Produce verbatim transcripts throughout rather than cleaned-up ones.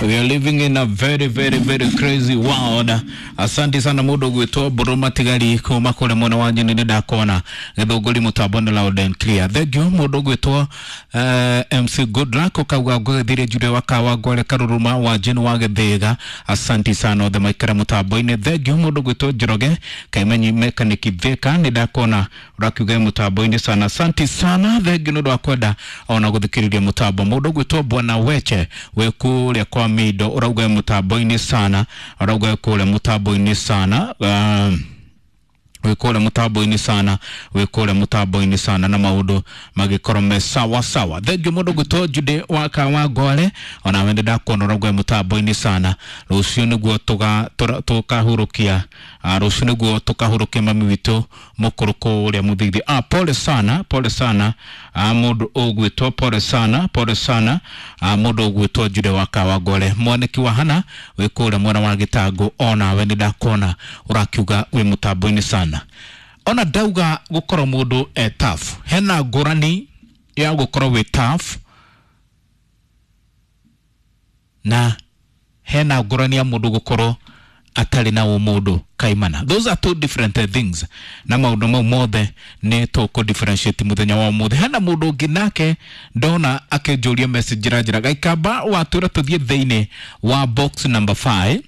We are living in a very very very crazy world. Asante sana mundu gwitwo Mburu Matigari kuma kule mwena wa Nyeri, nĩ ndakona gĩthũngũri mũtambo nĩ loud and clear. Thank you mundu gwitwo uh, M C Goodluck, ukauga ngũgĩthirie Julia wakawa ngware Karuruma wa Jane wa Gĩthĩga. Asante sana othe maikara mũtambo-inĩ. Thank you mundu gwitwo Njoroge Kaimenyi Mechanic Thika, nĩ ndakona ũrakiuga mũtambo-inĩ sana. Asante sana, thank you nĩ ũndũ wa kwenda ona gũthikĩrĩria mũtambo. Mũndũ gwĩtwo Bwana Weche wĩ kũrĩa kwa Mindo, ũrauga mũtambo-inĩ sana, ũrauga kũrĩa mũtambo-inĩ sana, uh, wĩ kũrĩa mũtambo-inĩ sana, wĩ kũrĩa mũtambo-inĩ sana, na maũndũ magĩkorwo me sawa sawa. Thengiũ mũndũ gwĩtwo Jude wa Kawangware, ona we nĩ ndakuona ũrauga mũtambo-inĩ sana. Rũciũ nĩguo tũkahurũkia, rũciũ nĩguo tũkahurũkia mami witũ mũkũrũ kũrĩa Mũthithi. Ah, pole sana, pole sana, ah, mũndũ ũgwĩtwo, pole sana, pole sana, ah, mũndũ ũgwĩtwo Jude wa Kawangware. Mwaniki wa Hana wĩ kũrĩa mwena wa Gĩtangũ, onawe nĩ ndakuona ũrakiuga wĩ mũtambo-inĩ sana. Ona ndauga gũkorwo mũndũ e tough, hena ngũrani ya gũkorwo wĩ tough na hena ngũrani ya mũndũ gũkorwo atarĩ na ũmũndũ kaimana. Those are two different things, na maũndũ mau mothe nĩ tũkũ differentiate mũthenya wa ũmũthĩ. Hena mũndũ ũngĩ nake ndona akĩnjũria message njĩra njĩra gaikamba watwĩra tũthiĩ thĩinĩ wa box number five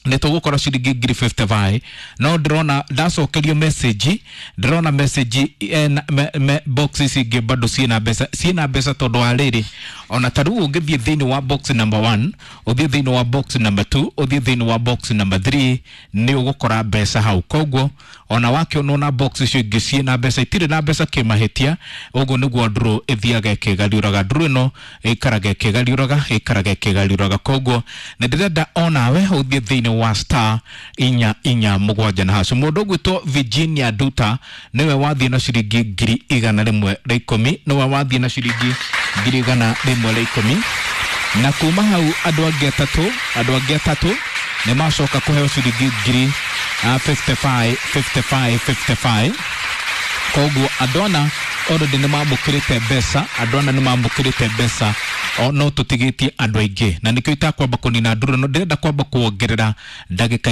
nĩ tũgũkora ciringi ngiri mĩrongo ĩtano na ithano, no ndĩrona ndacokerio message, ndĩrona message ena, me, me, box ici ingĩ bado ciĩna mbeca, ciĩna mbeca, tondũ wa rĩrĩ, ona ta rĩu ũngĩthiĩ thĩinĩ wa box number one, ũthiĩ thĩinĩ wa box number two, ũthiĩ thĩinĩ wa box number three, nĩ ũgũkora mbeca hau. Koguo ona wakĩonwo na box icio ingĩ ciĩna mbeca, itirĩ na mbeca kĩmahĩtia. Ũguo nĩguo ndũrũ ĩthiaga ĩkĩgariũraga, ndũrũ ĩno ĩikaraga ĩkĩgariũraga, ĩikaraga ĩkĩgariũraga. Koguo nĩ ndĩrenda onawe ũthiĩ thĩinĩ wa star inya inya mũgwanja na hacu. Mũndũ ũgwĩtwo Virginia Duta nĩwe wathiĩ na ciringi ngiri igana rĩmwe rĩa ikũmi, nĩwe wathiĩ na ciringi ngiri igana rĩmwe rĩa ikũmi, na kuma hau andũ angĩ atatũ, andũ angĩ atatũ nĩ macoka kũheo ciringi ngiri uh, mĩrongo ĩtano na ithano, mĩrongo ĩtano na ithano, mĩrongo ĩtano na ithano. Koguo andũ ana already nĩ mamũkĩrĩte mbeca, andũ ana nĩ mamũkĩrĩte mbeca, o no tũtigĩtie andũ aingĩ, na nĩkĩo itakwamba kũnina ndũrũ ĩno, ndĩrenda kwamba kuongerera ndagĩka.